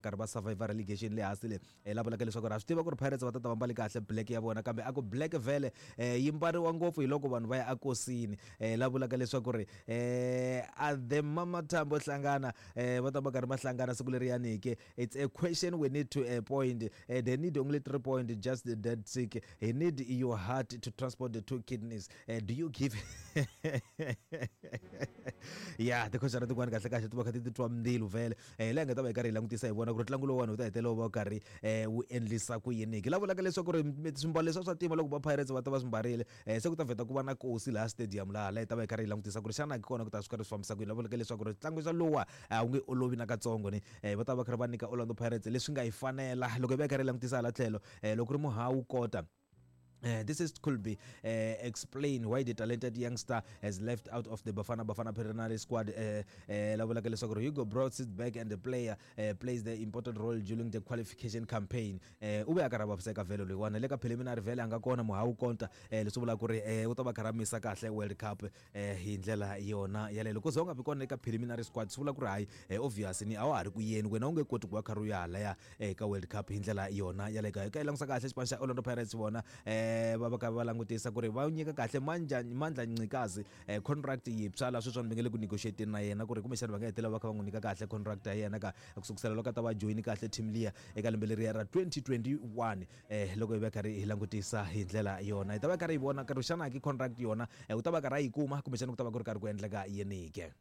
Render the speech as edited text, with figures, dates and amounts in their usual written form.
Karhi va survivor relegation le hansi le la vulaka leswaku ri ha swi tiva ku ri Pirates va ta ta va mbale kahle black ya vona, kambe a ku black vhele yi mbariwa ngopfu hi loko vanhu va ya akosini. La vulaka leswaku ri a the Mamathambo hlangana va ta va karhi va hlangana siku leriyani ke. It's a question we need to point. They need only 3 point, just dead sick. He need your heart to transport the two kidneys. Do you give? Ya tikhoxana tin'wana kahle kahle ti va kha ti titwa mbilu vhele. Laha hi nga ta va hi karhi hi langutisa hi vona ku ri ntlangu lowuwani wu ta hetelela wu va wu karhi wu endlisa ku yini ke. La vulaka leswaku ri swimbalo leswiya swa ntima loko va Pirates va ta va swi mbarile, se ku ta vheta ku va na kosi laha stadium laha la hi ta va hi karhi hi langutisa ku ri xana kona ku ta swi karhi swi fambisa ku yini. La vulaka leswaku ri ntlangu xa lowa a wu nge olovi nakatsongo ni va ta va karhi va nyika Orlando Pirates leswi nga yi fanela. Loko hi va hi karhi hi langutisa hala tlhelo, loko ri Muhawu Kota. This is could be explain why the talented youngster has left out of the Bafana Bafana preliminary squad. La vulaka leswaku Hugo Broos sits back and the player plays the important role during the qualification campaign. U ve a karhi a vaviseka vhele loyiwani le ka preliminary vhele a nga kona Muhawu Konta, leswi vulaka ku ri u ta va karhi a misa kahle World Cup hi ndlela yona yaleyo. Loko ze u nga vi kona eka preliminary squad swi vula ku ri hayi, obvious ni a wa ha ri ku yeni wena, u nge koti ku va karhi u ya halaya ka World Cup hi ndlela yona yaleyo. Ka yi langusa kahle xipano xa Orlando Pirates, vona va va ka va langutisa ku ri va nyika kahle Mandla Ncikazi contract yintshwa laha sweswiwani va nge le ku negotiateni na yena ku ri kumbexana va nga hetelela va kha va n'wi nyika kahle contract ya yena ka ku sukusela loko a ta va joyini kahle team liya eka lembe leriya ra 2021. Loko hi va karhi hi langutisa hi ndlela yona, hi ta va karhi hi vona karhi xana ki contract yona u ta va karhi a yi kuma kumbexana ku ta va ku ri karhi ku endleka yini ke.